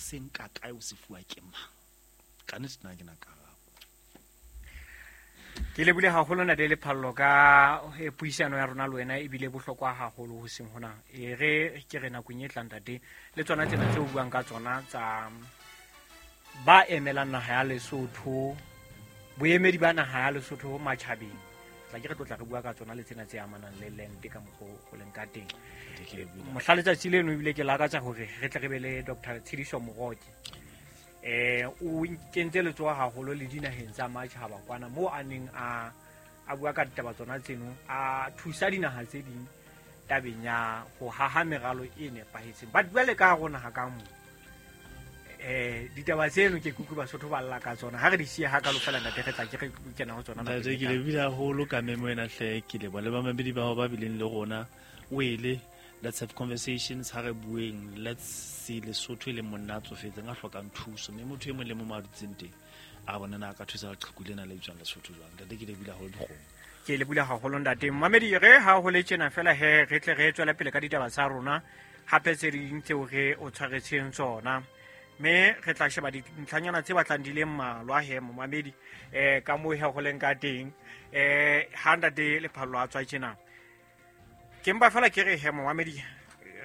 se nka kae, o se fuwa ke mang? Ka nnete nna ke na karabo. Ke lebile haholo Ntate Lephallo ka puisano ya rona le wena, ebile bohlokwa haholo ho seng hona. E re ke re nakong e tlang ntate, le tsona tsena tse o buang ka tsona tsa ba emelang naha ya Lesotho, boemedi ba naha ya Lesotho matjhabeng, tla ke re tlotla re bua ka tsona le tsena tse amanang le land ka mokgwa o leng ka teng. Mohla letsatsi leno ebile ke lakatsa hore re tle re be le Dr. Tshidiso Moroke. O kentse letsoho haholo le dinaheng tsa matjhaba kwana moo a neng a bua ka ditaba tsona tseno, a thusa dinaha tse ding tabeng ya ho haha meralo e nepahetseng. But jwale ka hare ho naha ka moo, ditaba tseno ke kutlwe Basotho ba lla ka tsona. Ha re di siye hakalo fela ntate, re tla ke re kena ho tsona. Ntate, ke lebile haholo ka memo ena hle, ke leboha le bamamedi bao ba bileng le rona. Wele, let's have conversations, ha re bueng, let's see Lesotho e leng monna a tsofetseng a hlokang thuso, mme motho e mong le mong a dutseng teng a bona na a ka thusa leqheku lena le bitswang Lesotho jwang. Ntate, ke lebile haholo dikgomo. Ke lebile haholo ntate. Mamedi, re ha ho le tjena fela he, re tle re tswele pele ka ditaba tsa rona hape tse ding tseo re o tshwaretseng tsona, mme re tla sheba dintlhanyana tse batlang di le mmalwa he momamedi, ka moo he ho leng ka teng. Ha ntate Lephallo a tswa tjena, ke mpa fela ke re he momamedi,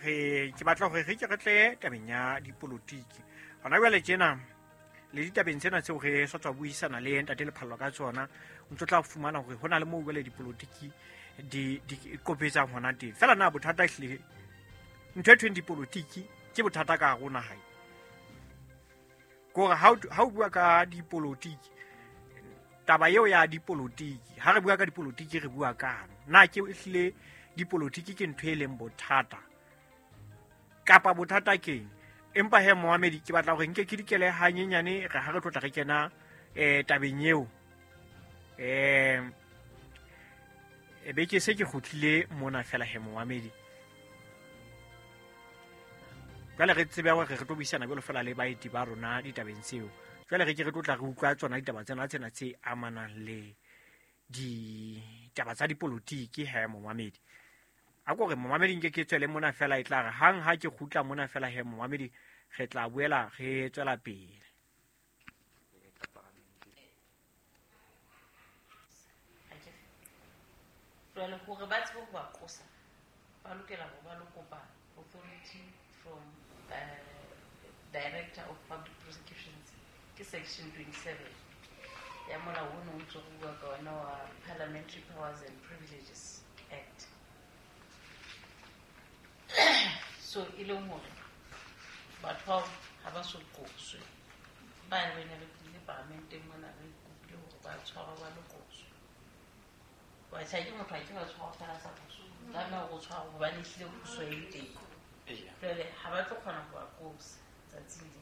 re ke batla hore re ke re tle tabeng ya dipolotiki hona jwale tjena, le ditabeng tsena tseo re sa tswa buisana le ntate Lephallo ka tsona, o ntso tla fumana hore hona le moo jwale dipolotiki di qopetsang hona teng. Fela na bothata ehlile ntho e thweng dipolotiki ke bothata ka hare ho naha e. Kore ha o bua ka dipolotiki, taba eo ya dipolotiki, ha re bua ka dipolotiki re bua kang? Na ke ehlile dipolotiki ke ntho e leng bothata kapa bothata keng? Empa he momamedi, ke batla hore nke ke dikele hanyenyane, re ha re tlotla re kena tabeng eo. E be ke se ke kgutlile mona fela he momamedi. Jwale re tsebe hore re tlo buisana jwalo fela le baeti ba rona ditabeng tseo. Jwale re ke re tlotla re utlwa tsona ditaba tsena tsena tse amanang le ditaba tsa dipolotiki he momamedi. A ko re momamedi nke ke tswele mona fela, e tla re hang ha ke kgutla mona fela he momamedi, re tla boela re tswela pele. Jwale hore ba tsebe ho ba qosa, ba lokela hore ba lo kopa authority from Director of Public Prosecutions, ke section 27 ya molao o ne o ntse go bua ka ona wa Parliamentary Powers and Privileges Act. So e leng hore batho bao ha ba so qoswe, ba re ne re tlile paramenteng mona re kopile hore ba tshwarwe ba lo qoswe. Wa tjha ke motho a ke ba tshwarwa fela sa qoso, tlameha hore o tshwarwe hobane ehlile qoso e teng. Jwale ha ba tlo kgona ho ba qosa tsatsing le,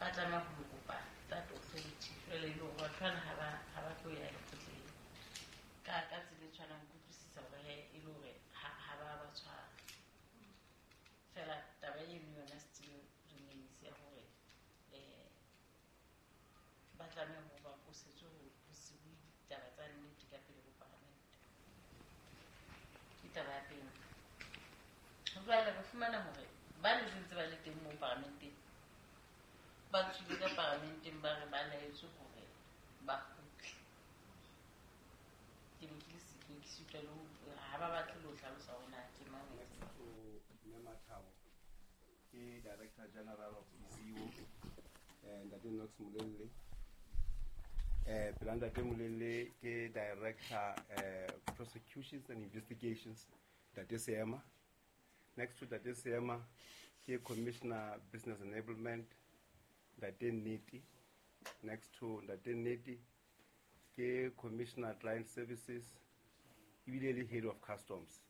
ba tlameha ho lo kopa that authority. Jwale e le hore batho bana ha ba tlo ya lekgotleng ka tsela e tshwanang, kutlwisisa hore he e le hore ha ba ba tshwara. Fela taba eno yona still remains ya hore ba tlameha hore ba qosetswe ho se bue ditaba tsa nnete ka pele ho paramente. Ke taba ya pele. Jwale re fumana hore ba ne ntse ba le teng moo paramenteng, ba tswile ka paramenteng ba re ba laetswe hore ba kgutle. Ke ne ke le siko, ke sitwa le ho, ha ba batle le ho hlalosa hore na ke mang. Mme Mathabo ke Director General of ISIO, Ntate Knox Molelle. Pela Ntate Molelle ke Director Prosecutions and Investigations, Ntate Seema. Next to Ntate Seema ke Commissioner Business Enablement, Ntate Nnete. Next to Ntate Nnete ke Commissioner Client Services, ebile le Head of Customs.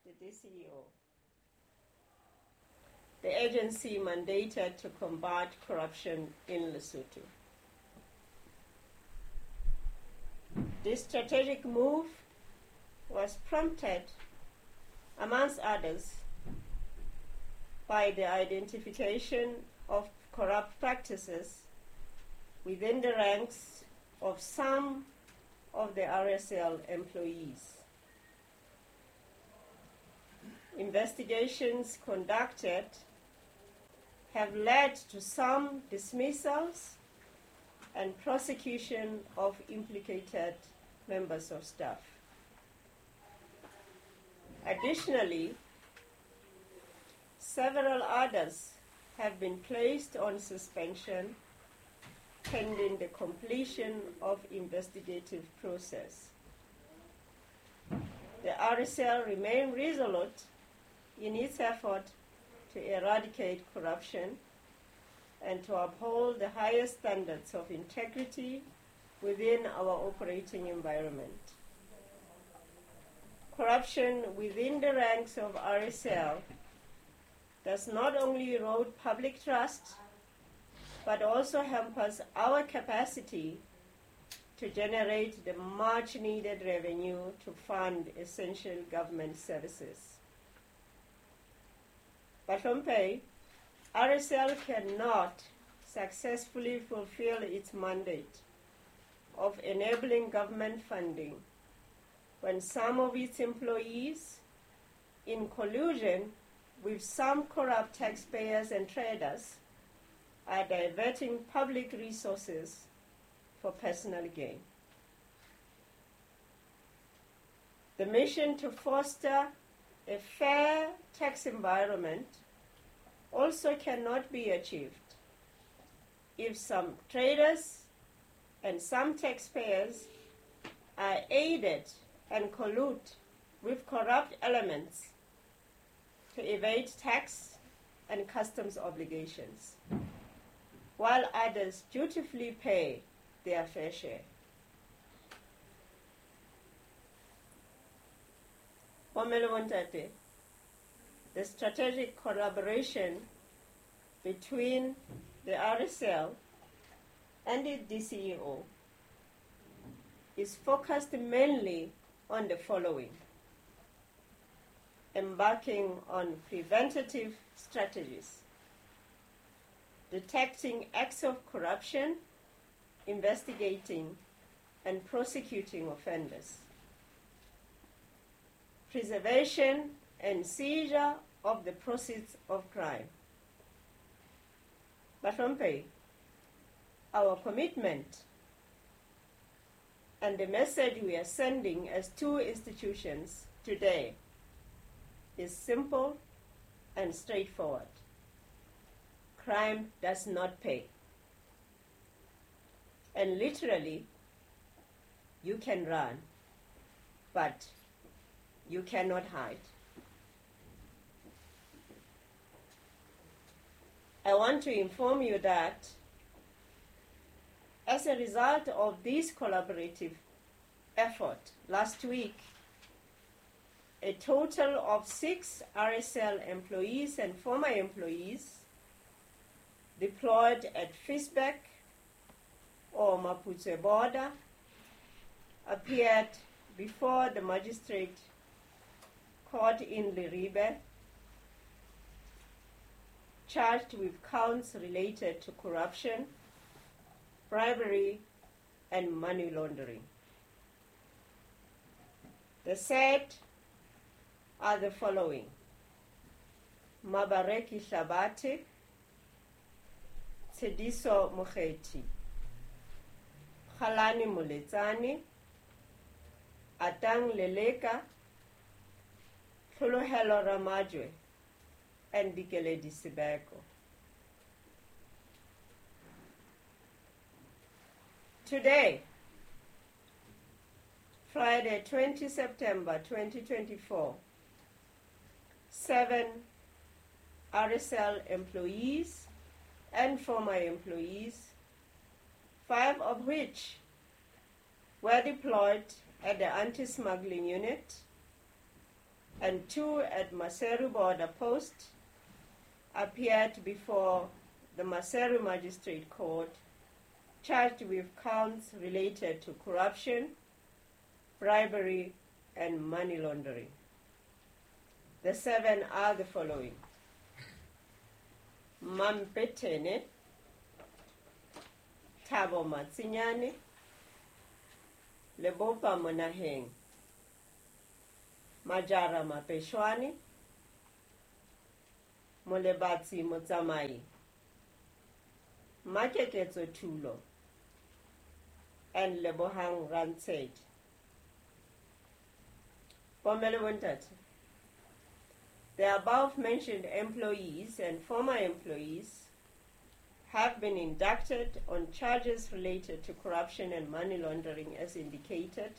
The DCEO, the agency mandated to combat corruption in Lesotho. This strategic move was prompted, amongst others, by the identification of corrupt practices within the ranks of some of the RSL employees. Investigations conducted have led to some dismissals and prosecution of implicated members of staff. Additionally, several others have been placed on suspension pending the completion of investigative process. The RSL remain resolute in its effort to eradicate corruption and to uphold the highest standards of integrity within our operating environment. Corruption within the ranks of RSL does not only erode public trust, but also hampers our capacity to generate the much needed revenue to fund essential government services. Bahlomphehi, RSL cannot successfully fulfill its mandate of enabling government funding when some of its employees, in collusion with some corrupt taxpayers and traders, are diverting public resources for personal gain. The mission to foster a fair tax environment also cannot be achieved if some traders and some taxpayers are aided and collude with corrupt elements to evade tax and customs obligations, while others dutifully pay their fair share. Bomme le bontate, the strategic collaboration between the RSL and the DCEO is focused mainly on the following: embarking on preventative strategies, detecting acts of corruption, investigating and prosecuting offenders, preservation and seizure of the proceeds of crime. Bahlomphehi, our commitment and the message we are sending as two institutions today is simple and straightforward. Crime does not pay. And literally, you can run, but you cannot hide. I want to inform you that as a result of this collaborative effort, last week, a total of 6 RSL employees and former employees deployed at Ficksburg or Maputsoe border appeared before the magistrate court in Leribe, charged with counts related to corruption, bribery, and money laundering. The said are the following: Mabareki Hlabate, Tshediso Mokgethi, Kgalane Moletsane, Atang Leleka, Tlholohelo Ramajwe, and Dikeledi Sibeko. Today, Friday, 20 September 2024, 7 RSL employees and former employees, 5 of which were deployed at the anti-smuggling unit and 2 at Maseru border post, appeared before the Maseru Magistrate Court, charged with counts related to corruption, bribery, and money laundering. The 7 are the following: Mampetene, Thabo Matsinyane, Lebopa Monaheng, Majara Mapeshwani, Molebatsi Motsamai, Makeketso Thulo, and Lebohang Rantshedi. Bomme le bontate, the above mentioned employees and former employees have been indicted on charges related to corruption and money laundering as indicated.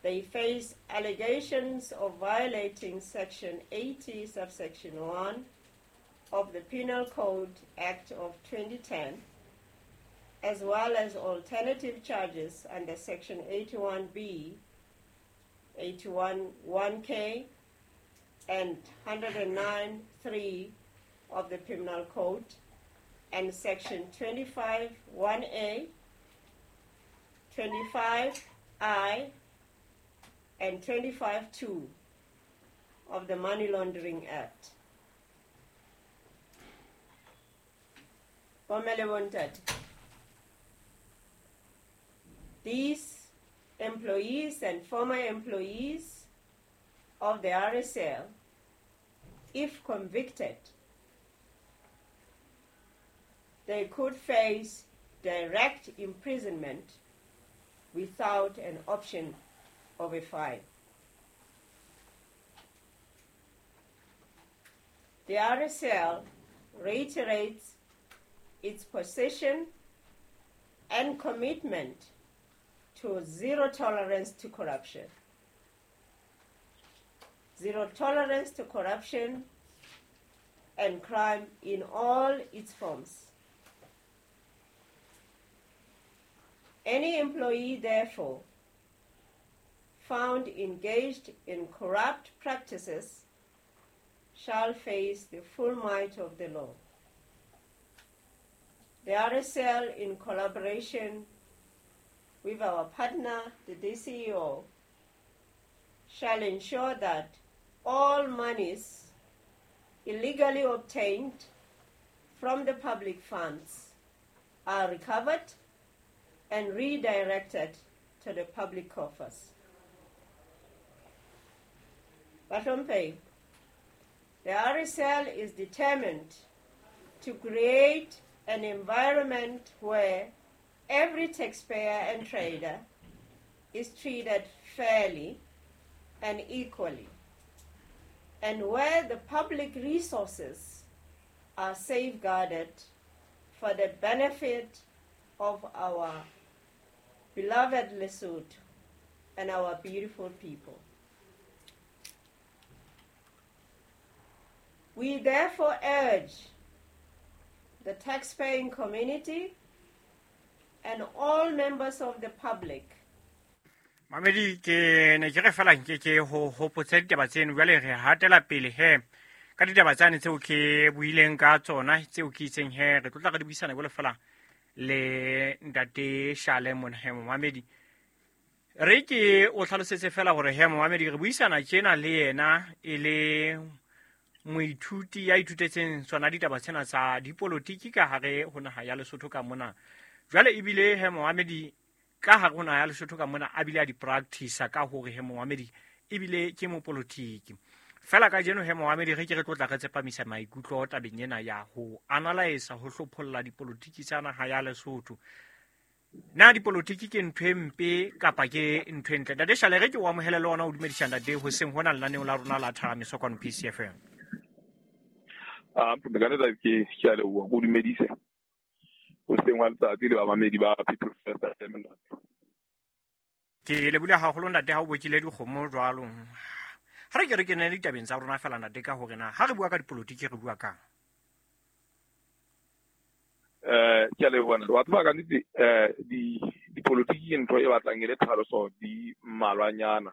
They face allegations of violating Section 80, subsection 1 of the Penal Code Act of 2010, as well as alternative charges under Section 81B, 81(1K), and 109(3) of the Criminal Code, and Section 25(1A), 25I, and 25(2) of the Money Laundering Act. Bomme le bontate, these employees and former employees of the RSL, if convicted, they could face direct imprisonment without an option of a fine. The RSL reiterates its position and commitment to zero tolerance to corruption. Zero tolerance to corruption and crime in all its forms. Any employee, therefore, found engaged in corrupt practices shall face the full might of the law. The RSL, in collaboration with our partner, the DCEO, shall ensure that all monies illegally obtained from the public funds are recovered and redirected to the public coffers. Bahlomphehi, the RSL is determined to create an environment where every taxpayer and trader is treated fairly and equally, and where the public resources are safeguarded for the benefit of our beloved Lesotho and our beautiful people. We therefore urge the taxpaying community and all members of the public. Mamedi, ke ne ke re fela nke ke ho hopotse ditaba tseno. Jwale re hatela pele he ka ditaba tsane tseo ke buileng ka tsona, tseo ke itseng he re tlotla re di buisana jwale fela le ntate Shale mona. He momamedi, re ke o tlhalosetse fela hore he momamedi re buisana tjena le yena e le moithuti ya ithutetseng tsona ditaba tsena tsa dipolotiki ka hare ho naha ya Lesotho ka mona. Jwale ebile he momamedi ka hare ho naha ya Lesotho ka mona a bile a di practice ka hore he momamedi ebile ke mopolotiki. Fela ka jeno he momamedi re ke re tlotla re tsepamisa maikutlo tabeng ena ya ho analyze, ho hlopholla dipolotiki tsa naha ya Lesotho. Na dipolotiki ke ntho e mpe kapa ke ntho e ntle? Ntate Shale, re ke o amohele le ona o dumedisa ntate hoseng hona lenaneong la rona la Thahamiso kwano PCFM. Ke ke a leboha, ko dumedise hoseng wa letsatsi le bamamedi ba People First FM, ntate. Ke lebule haholo ntate ha o bokile dikgomo jwalo. Ha re ke re kene ditabeng tsa rona fela ntate ka hore na ha re bua ka dipolotiki re bua kang? Ke a leboha ntate. Wa tseba ka nnete, dipolotiki ke ntho e batlang e le tlhaloso di mmalwanyana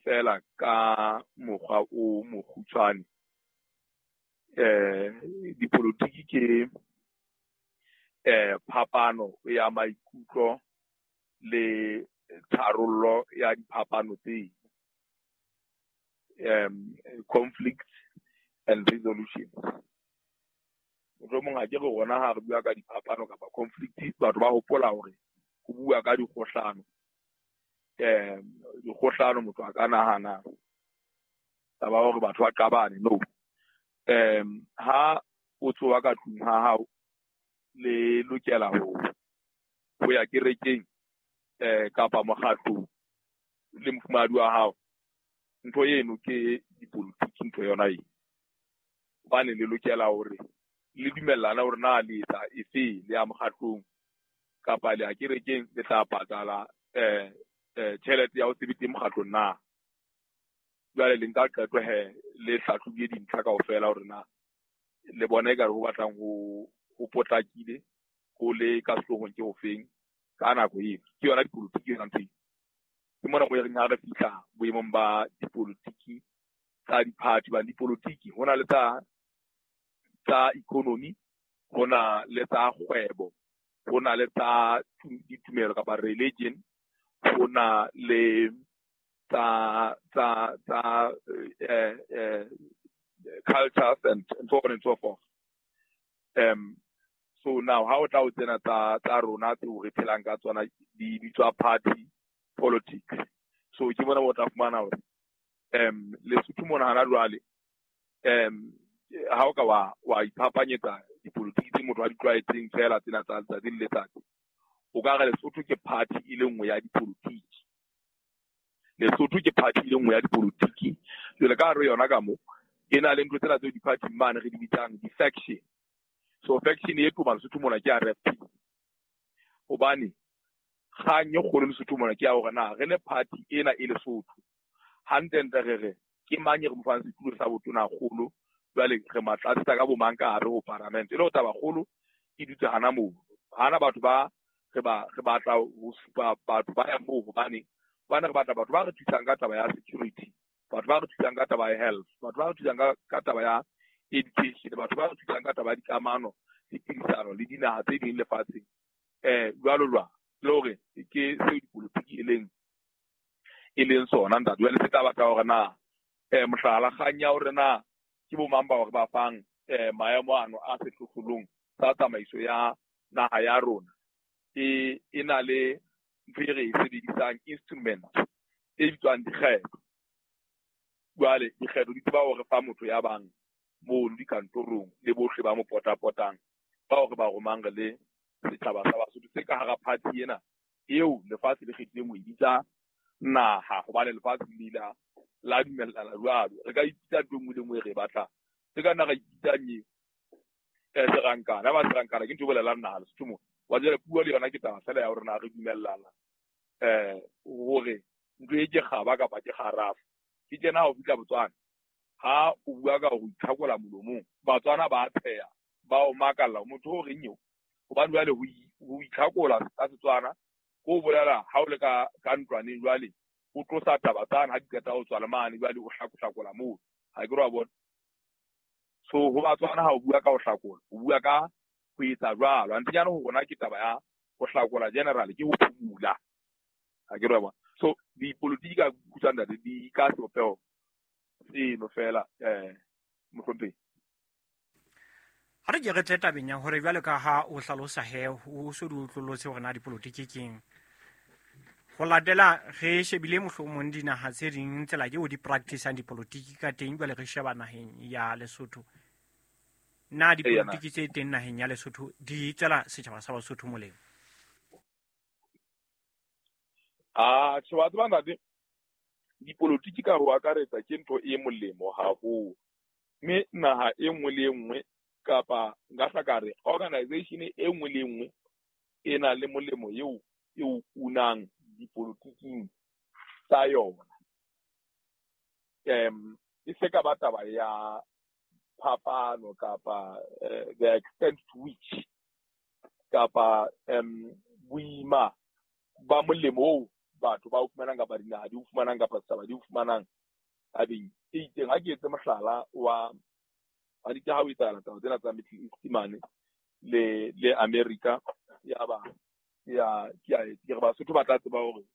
fela ka mokgwa o mokgutshwane. Dipolotiki ke phapano ya maikutlo le tharollo ya diphapano tse, conflict and resolution. Mohlomong ha ke re rona ha re bua ka diphapano kapa conflict, batho ba hopola hore ho bua ka dikgohlano. Dikgohlano motho a ka nahana taba hore batho ba qabane. No. Ha o tsoha ka tlung ha hao, le lokela ho ya kerekeng kapa mokgatlong le mofumahadi wa hao, ntho eno ke dipolotiki, ntho yona e. Hobane le lokela hore le dumellana hore na le etsa efe, le ya mokgatlong kapa le ya kerekeng, le tla patala tjhelete ya ho se be teng mokgatlong na. Jwale le nka qeto he, le hlahlobile dintlha kaofela hore na le bona ekare ho batlang ho potlakile, ho le ka sehloohong ke hofeng ka nako eo. Ke yona dipolotiki yona ntho eo. Ke mona mo e reng ha re fihla boemong ba dipolotiki tsa di-party, hobane dipolotiki ho na le tsa economy, ho na le tsa kgwebo, ho na le tsa ditumelo kapa religion, ho na le tsa cultures and so on and so forth. So now ha o tla o tsena tsa rona tseo re phelang ka tsona di bitswa party politics. So ke bona bo tla fumana hore Lesotho mona hana jwale ha o ka wa iphapanyetsa dipolotiki tse motho a di tlwaetseng fela tsena tsa letsatsi le letsatsi, o ka re Lesotho ke party e le nngwe ya dipolotiki. Lesotho ke party e le nngwe ya dipolotiki. Jwale ka hare yona ka mo e na le ntho tsena tseo di-party mane re di bitsang di-faction. So faction e toma Lesotho mona ke ya RFP. Hobane kgang e kgolo Lesotho mona ke ya hore na re le party ena e Lesotho hantlentle re re ke mang e re mo fang setulo sa botona kgolo, jwale re matlatsetsa ka bo mang ka hare ho parliament. E le hore taba kgolo e dutse hana moo, hana batho ba re batla ho supa batho ba yang moo, hobane re batla batho ba re thusang ka taba ya security, batho ba re thusang ka taba ya health, batho ba re thusang ka taba ya education, batho ba re thusang ka taba ya dikamano le phedisano le dinaha tse ding lefatsheng, jwalo jwalo. Le hore ke seo dipolotiki e leng sona ntate. Jwale se tla batla hore na mohlala kgang ya hore na ke bo mang ba hore ba fang maemo ano a sehlohlolong sa tsamaiso ya naha ya rona e na le ntho e re e sebedisang instrument e bitswang dikgetho. Jwale dikgetho di tseba hore fa motho ya bang mono dikantorong le bohle ba mo potapotang bao re ba romang re le setjhaba sa Basotho se ka hara party ena eo lefatshe le kgethileng ho e bitsa naha, hobane lefatshe le ile la dumellana jwalo. Re ka ipitsa ntho e nngwe le nngwe re e batlang, re ka nna ra ipitsang serankana. Ha ba serankana ke ntho e bolelang naha Lesotho mona. Wa jwale puo le yona ke taba fela ya hore na re dumellana hore ntho e ke kgaba kapa ke kgarafu. Ke tjena ha o fihla Botswana, ha o bua ka ho itlhakola molomong, Batswana ba tsheha, ba o makalla motho o reng eo, hobane jwale ho itlhakola ka Setswana ko bolela ha o le ka ntlwaneng jwale o tlosa taba tsane ha di qeta ho tswa le mane jwale o hlakohlakola moo, ha ke re wa bona. So ho Batswana ha o bua ka ho hlakola, o bua ka ho etsa jwalo. Antenyana ho rona ke taba ya ho hlakola general, ke ho phumula, ha ke re wa bona. So dipolotiki ka khutshwane ntate di ka sebopeho seno fela mohlomphehi. Ha re ke re tle tabeng ya hore jwale ka ha o hlalosa he o so di utlwellotse hore na dipolotiki keng. Ho latela re shebile mohlomong dinaha tse ding tsela eo di practice-ang dipolotiki ka teng, jwale re sheba naheng ya Lesotho. Na dipolotiki tse teng naheng ya Lesotho di tswela setjhaba sa Basotho molemo? Tjhe, wa tseba ntate, dipolotiki ka ho akaretsa ke ntho e molemo haholo. Mme naha e nngwe le e nngwe kapa nka hla ka re organization e nngwe le e nngwe e na le molemo eo e o unang dipolotiking tsa yona. E se ka ba taba ya phapano kapa the extent to which kapa boima ba molemo oo batho ba o fumanang kapa dinaha di o fumanang kapa setjhaba di o fumanang tabeng e itseng. Ha ke etse mohlala wa di ke ha o etsahala taba tsena tsa Middle East mane le America, ya ba ya ke re Basotho ba tla tseba hore